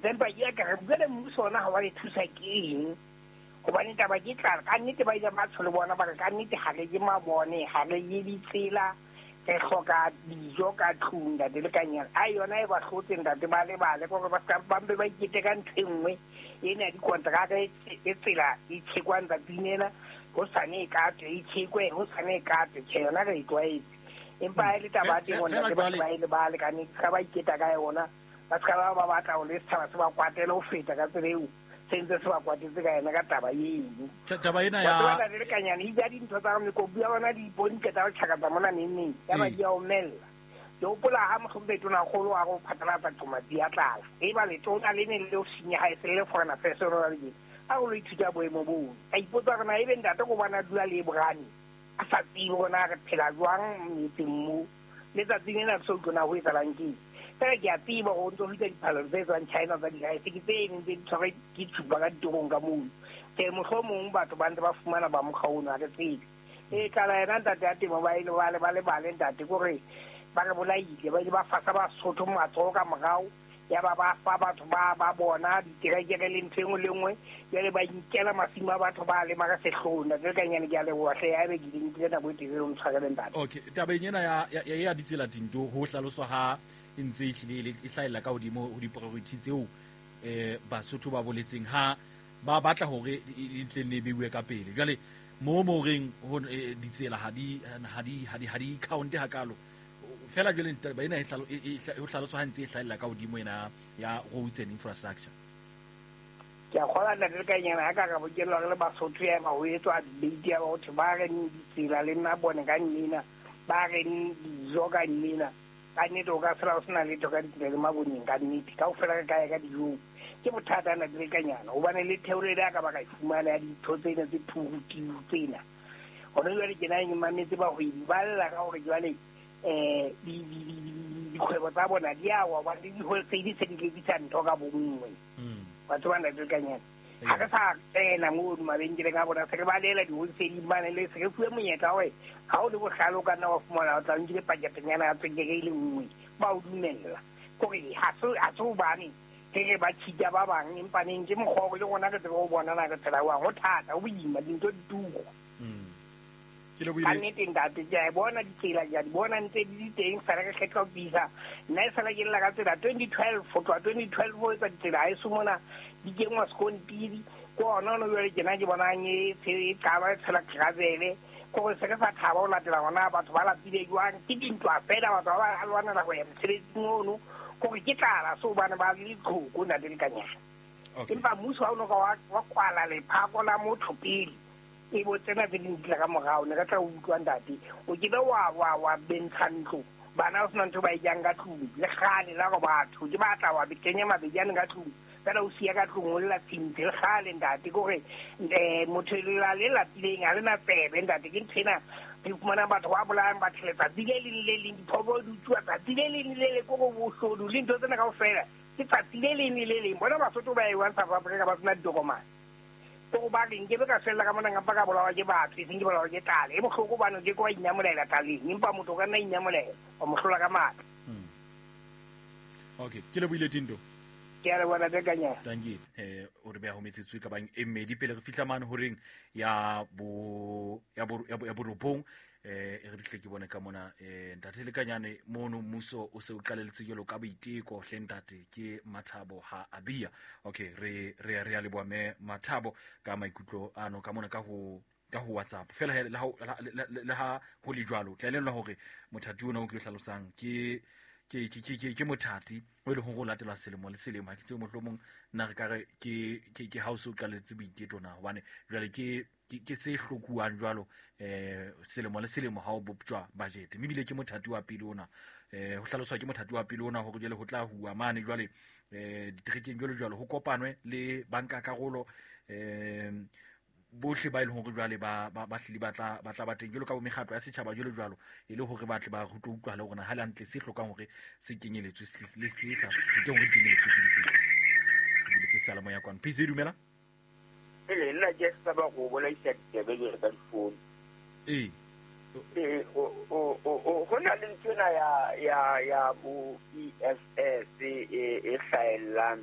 Etsa empa ke ya ka re jwale mmuso ona ha wa re thusa ke eng? Hobane taba ke tlala. Ka nnete ba ile ba tsho le bona ba re ka nnete ha re je mabone, ha re je ditsela, re hloka dijo ka tlung ntate Lekanyana. A yona e ba hlotse ntate ba lebale kore ba ska ba mpe ba ikete ka ntho e nngwe ena ya dikonteraka e tsela e tjhekwang tsatsing lena, hosane e katwe, e tjhekwe, hosane e katwe. Tjhe, yona re e tlwaetse. Empa ha e le taba ya temo Feela ntate ba jwale ba e lebale ka nnete, ska ba iketa ka yona. Ba ska ba ba batla hore le setjhaba se ba kwatele ho feta ka tsela eo se ntse se ba kwatetse ka yona ka taba eno. Taba ena Wa ya tseba ntate Lekanyane, e ja dintho tsa mekopu ya bona di ipone qeta ho tjhakatsa mona neng neng, ya ba Ee. di a omella. Ke hopola ha mohlomphehi Tonakgolo a re o phatlalatsa qomatsi ya tlala. Eba letona le ne le le ho senyeha e se le le foreign affairs hona jwale tjena. A re o lo ithuta boemo bono. Ka ipotsa hore na ebe ntate ke hobane a dula le Brane a sa tsebe hore na re phela jwang metseng moo. Letsatsing lena ke so utlwe na ho etsahalang ke eng. Feela ke a tseba hore o ntso fihla diphallelo tse tswang China tsa di-rice ke tse neng tse di tshwarwe ke tshupa ka ditorong ka mono. Tjhe, mohlomong batho ba ntse ba fumana ba mokgwa ono, ha re tsebe. E tlala yena ntate ya temo ba ile ba le ba lebale ntate kore ba re bolaile, ba ile ba fasa Basotho matsoho ka morao, ya ba ba fa batho ba ba bona diterekere le ntho e nngwe le nngwe, jwale ba inkela masimo a batho ba lema ka sehloho. Ntate Lekanyane, ke a leboha hle, haebe ke nkile nako e telele o ntshwarele ntate. Okay, tabeng ena ya ya ya ditsela Tinto, ho hlaloswa ha e ntse e hlile e le- e hlahella ka hodimo ho di-priority tseo Basotho ba boletseng ha ba batla hore e tle ne beuwe ka pele. Jwale mo mo reng ho ditsela ha di ha di ha di ha di count hakalo. Fela jwale taba ena e ho hlaloswa ha ntse e hlahella ka hodimo ena ya roads and infrastructure. Ke a kgolwa ntate Lekanyane ha ka ra bokellwa re le Basotho ya eba ho etswa debate ya ba ho thwe ba reng ditsela le nna bone ka nnena, ba reng dijo ka nnena. Ka nnete o ka sala o sena letho ka ditsela le maboneng ka nnete. Kaofela re ka ya ka dijong. Ke bothata ntate Lekanyane hobane le theolelo ya ka ba ka e fumana ya dintho tsena tse phurutiu tsena. Hona jwale ke na ke mametse bahwebi ba lla ka hore jwale dikgwebo tsa bona di a wa hobane le di-wholesale se di rekisa ntho ka bonngwe. Wa tseba ntate Lekanyane, ha re sa tsena mono mabenkeleng a bona, se re balela di-wholesale mane le se re fuwe monyetla hore ha o le bohlale o ka nna wa fumana o tla o nkile paketenyana ya tswekere e le nngwe, ba o dumella. Kore ha se hobane re re ba cheat-a ba bang, empa neng ke mokgwa hore le rona re tsebe ho bona na re phela jwang. Ho thata, ho boima, dintho di turu. Ke lebohile. Ka nnete ntate, ke a e bona ditsela, ke a di bona ntse di le teng, sala re kgetha ho bisa. Nna e sala ke lla ka tsela 2012, ho tloha 2012 ho etsa ditsela haeso mona di kenngwa sekontiri. Ke hona ono jwale tjena ke bonang e e qala e tshela gravel. Ke hore se re sa thaba ho latela hore na batho ba lapile jwang. Ke dintwa feela batho ba ba lwanela ho ya mosebetsing ono. Ke hore ke tlala so hobane ba le ditlhoko ntate Lekanyane. Okay. Empa mmuso ha o no ka wa kwala lephako la motho pele, e bo tsena tse ding di tla ka morao, ne re tla utlwa ntate. O ke be wa wa wa bentsha ntlo, bana ba sena ntho ba e jang ka tlung, le kgale la gore batho ke batla wa kenya mabejane ka tlung, fela o siya ka tlung o lla tshintshi le kgale ntate. Ke hore motho lela le lapileng ha le na tsebe ntate. Ke ntho ena re fumanang batho ba bolayang batho letsatsi le leng le leng, diphoofolo di utsuwa tsatsi le leng le le leng, ke hore boshodu le ntho tsena kaofela ke tsatsi le leng le le leng. Bona Basotho ba ewang South Africa ba sena ditokomane. Ke hore ba re nkebe ka fella ka mona nkampa ka bolawa ke batho, eseng ke bolawa ke tlala. E bohloko hobane o ke ke wa inyamolela tlaleng, empa motho o ka nna inyamolela, wa mo hlola ka matla. Okay, ke lebohile Tindo. Ke a leboha ntate Kanyana. Tanki, o re beha ho metsotso e ka bang e mmedi pele re fihla mane horeng ya bo ya bo ya bo, ya borobong. E re tle ke bone ka mona ntate Lekanyane mono mmuso o se o qaleletse jwalo ka boiteko hle ntate ke Mathabo ha a bia. Okay, re re re a leboha mme Mathabo ka maikutlo ano ka mona ka ho WhatsApp. Fela he, le ha le ha ho le jwalo, tla elellwa hore mothati ona o ke o hlalosang ke ke ke ke ke mothati o e leng hore o latelwa selemo le selemo. Ha ke tsebe mohlomong nna re ka re ke ke ke ha o se o qaletse boiketo na, hobane jwale ke ke se hlokuwang jwalo selemo le selemo ha o boptjwa budget. Mme ebile ke mothati wa pele ona, ho hlaloswa ke mothati wa pele ona hore jwale ho tla huwa mane jwale diterekeng jwalo jwalo, ho kopanwe le banka karolo bohle ba e leng hore jwale ba ba ba hlile ba tla ba tla ba teng jwalo ka bo mekgatlo ya setjhaba jwalo jwalo, e le hore ba tle ba ho tlo utlwa le hore na ha le hantle se hlokang hore se kenyeletswe le se sa hlokeng hore di kenyeletswe ke dife. Ke buletse seyalemoya kwano. PC dumela. Pele nna ke saba go bolaisa ditsebe jwalo ka difounu. Ee. Ee, ho na le nthwena ya ya ya bo EFS e e hlaellang.